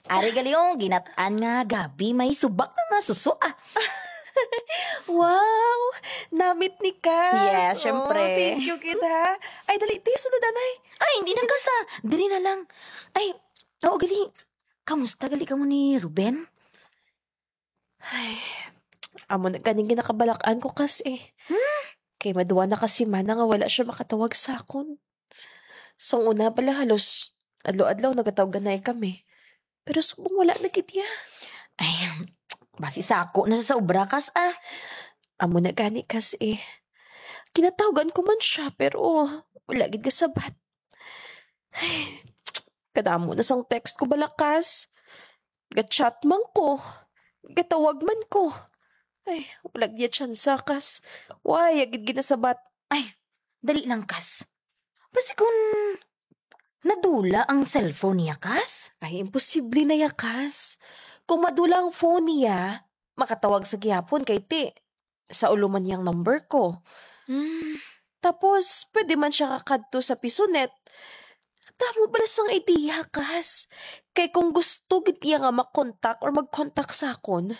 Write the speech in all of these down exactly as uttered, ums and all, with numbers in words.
Ari gali, oh, ginat-an nga gabi, may subak na nga suso, ah. Wow! Namit ni Kas. Yes, syempre. Oh, thank you, kita. Ay, dali, ti, sunod, anay. Ay, hindi na, Kas, ah. Diri na lang. Ay, oo, gali. Kamusta gali kamo ni Ruben? Ay, amo na ganing ginakabalakan ko, Kas, eh. Kay maduwa na ka semana nga wala siya makatawag sa akon. Sang una pala, halos adlaw-adlaw nagatawgan na kami. Pero subong wala na gid iya. Ay, basi sako na siya sa obra, Kas, ah. Amo na gani, Kas, eh. Ginatawgan ko man siya, pero wala gid gasabat. Ay, kadamo na sang text ko bala, Kas. Ga-chat man ko. Gatawag man ko. Ay, wala gid tsansa, Kas. Wala gid ginasabat. Dali lang, Kas. Basi kung nadula ang cellphone niya, Kas? Ay, imposible na ya, Kas. Kung madula ang phone niya, makatawag sa gihapon kay ti, sa ulo man niyang number ko. Hmm. Tapos, pwede man siya kakadto sa Pisonet. Damo bala sang idea, Kas. Kay kung gusto gid niya nga makontak or magkontak sa akon,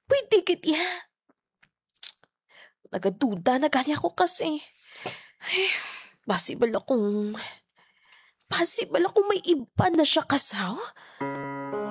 pwede gid iya. Nagaduda na gani ako, Kas, eh. Ay, basi bala kung, basi bala kung may iba na siya, Kas, ha?